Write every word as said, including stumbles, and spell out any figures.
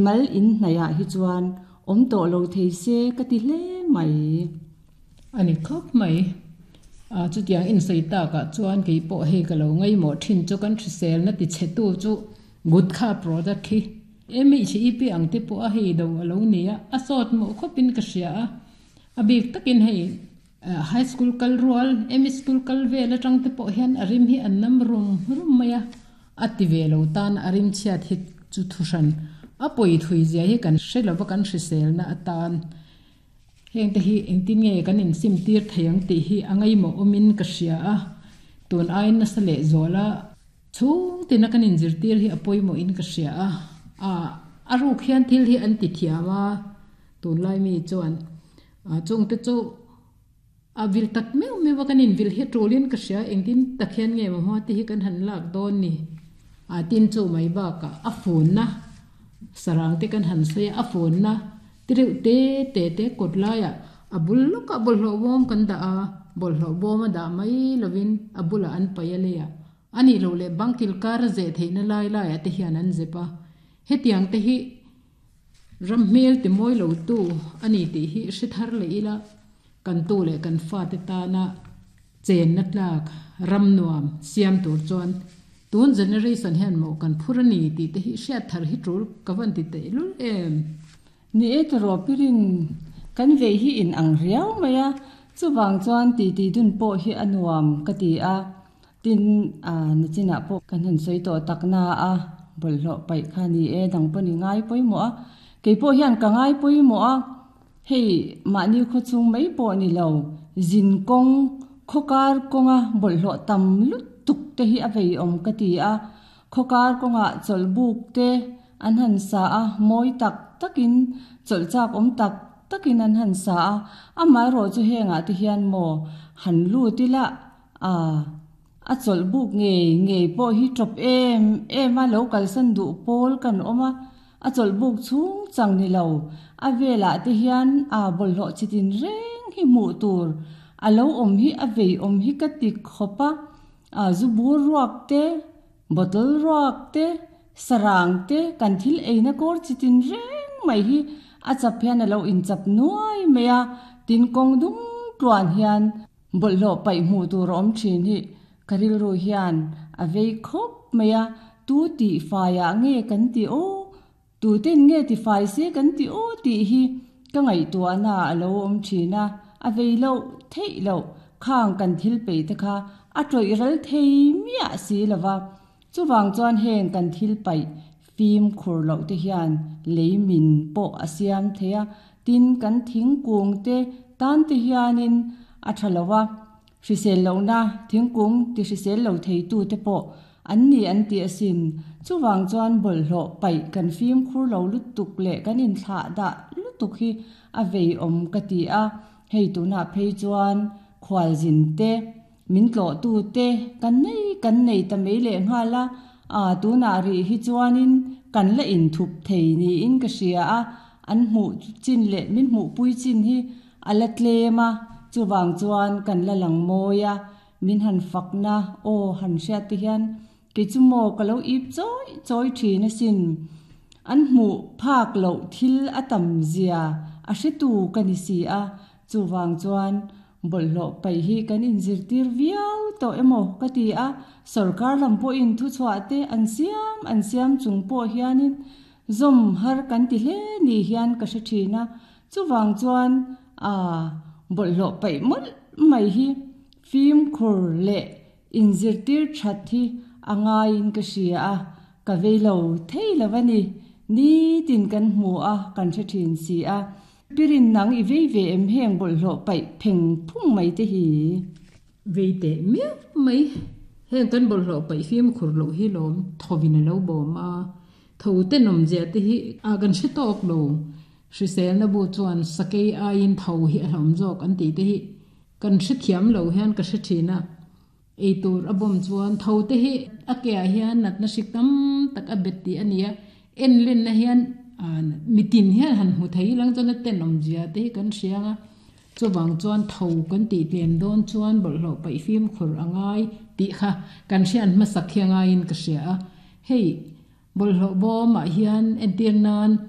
Mal in hnaihah hi chuan awm tawh lo thei se ka ti hle mai. A ni khawp mai. A chutiang in sawi takah chuan kei pawh hei ka lo ngaimawh thin chu kan hriselna ti chhetu chu gutkha product hi M H E P ang te pawh a hei do a lo ni a, a sawt mawh khawpin ka hria a. A bik takin hei high school kal rual, M school kal vel atang te pawh hian a rim hi an nam rum rum mai a. A ti ve lo tan a rim chhiat hi chu thu hran. A pawi thui zia hi kan hre lova kan hriselna atan. Heng te hi engtin nge kan insim tir thei ang tih hi a ngaimawh awmin ka hria a. Tun aiin nasa leh zual a chhung tina kan inzirtir hi a pawimawhin ka hria a. A a ruk hian thil hi an ti thiam a tunlai mi chuan chung te chu a vil tak meuh meuh a kan invil hi tulin ka hria engtin tak hian nge maw hma te hi kan han lak dawn ni. A tin chu mai bakah a funna sarang te kan han sawi a a funna tireuh te te te kawt laiah a bul lawkah bawlhhlawh bawm kan dah a bawlhhlawh bawm a dah mai lovin a bulah an paih a leiah ani lo leh bangkil kar a zeh theihna lai laiah te hian an zep a hetiang te hi ram hmel ti mawi lo tu ani tih hi hre thar leh ila kan tu leh kan fa te tana chenna tlak ram nuam siam tur chuan tun generation hian maw kan phur ani tih te hi hriat thar hi tul ka van ti teh lul em. Ni e tawrh pirin kan vei hi in ang riau mai a chuwang chuan ti ti dun pawh hi a nuam ka ti a tin a nichinah pawh kan han sawi tawh tak na a bawlhhlawh paih kha ni e dang pawh ni ngai pawimawh a kei pawh hian ka ngai pawimawh a hei mahni khaw chung mai pawh ni lo zin kawng khawkar kawnga bawlhhlawh tam lutuk te hi a vei awm ka ti a khawkar kawngah chawlhbuk te an han sa a mawi tak takin chawlh chak awm tak takin an han sa a amaherawh chu hengah te hian maw han lut ila a a chawlhbuk ngei ngei pawh hi tawp em em a lo kalsan duh pawl kan awm a a chawlhbuk chhung chang ni lo a velah te hian a bawlhhlawh chitin reng hi hmuh tur a lo awm hi a vei awm hi ka ti khawp a a zu bur ruak te bottle ruak te sarang te kan thil eina kawr chitin reng mai hi a chap hian a lo inchap nuai mai a tin kawng dung tluan hian bawlhhlawh paih hmuh tur a awm thin hi ka rilru hian a vei khawp mai a tu tih faiah nge kan ti aw tu ten nge ti fai se kan ti aw tih hi ka ngaihtuahna a lo awm thin a a vei loh theih loh khang kan thil peih te kha a tawih ral thei miah si lova chuwang chuan heng kan thil paih fim khur loh te hian lei min pawh a siam thei a tin kan thingkung te tan te hianin a tha lova hrisel lohna thingkung ti hrisel lo thei tu te pawh an ni an ti asin chuwang chuan bawlhhlawh paih kan fim khur lo lutuk leh kan inthlah dah lutuk hi a vei awm ka ti a hei tunah phei chuan khualzin te min tlawh tu te kan nei kan nei ta mai leh nghal a a tunah rih hi chuanin kan la inthup thei niin ka hria a an hmuh chin leh min hmuh pui chin hi a la tlem a chuwang chuan kan la lang mawi a min han fakna aw han hriat te hian kei chu maw ka lo ip chawi chawi thin asin an hmuh phak loh thil a tam zia a hretu ka ni si a chuwang chuan bawlhhlawh paih hi kan inzirtir viau tawh emaw ka ti a sarkar lam pawhin thu chhuah te an siam an siam chung pawh hianin zawm har kan ti hle ni hian ka hre thin a chuwang chuan a bawlhhlawh paih mawlh mai hi fim khur leh inzirtir that hi a ngaiin ka hria a ka vei lo thei lo ani ni tin kan hmu a kan hre thin si a pirin nang i vei ve em heng bawlhhlawh paih pheng phung mai te hi. Vei teh miau mai heng kan bawlhhlawh paih fim khur loh hi lawm thawin a lo bawm a tho te nawm zia te hi a kan hre tawk lo hriselna bu chuan sakei aiin tho hi a hlawm zawk an tih te hi kan hre thiam lo hian ka hre thin a eitur a bawm chuan tho te hi a ke ah hian natna hrik tam tak a bet tih ani a en len na hian mitin hian han hmu thei lang chuan a tenawm zia te hi kan hriang a chuwang chuan tho kan tih tlem dawn chuan bawlhhlawh paih fim khur angai tih kha kan hrian hmasak hi angaiin ka hria a hei Bawlhhlawh bawmah hian entir nan.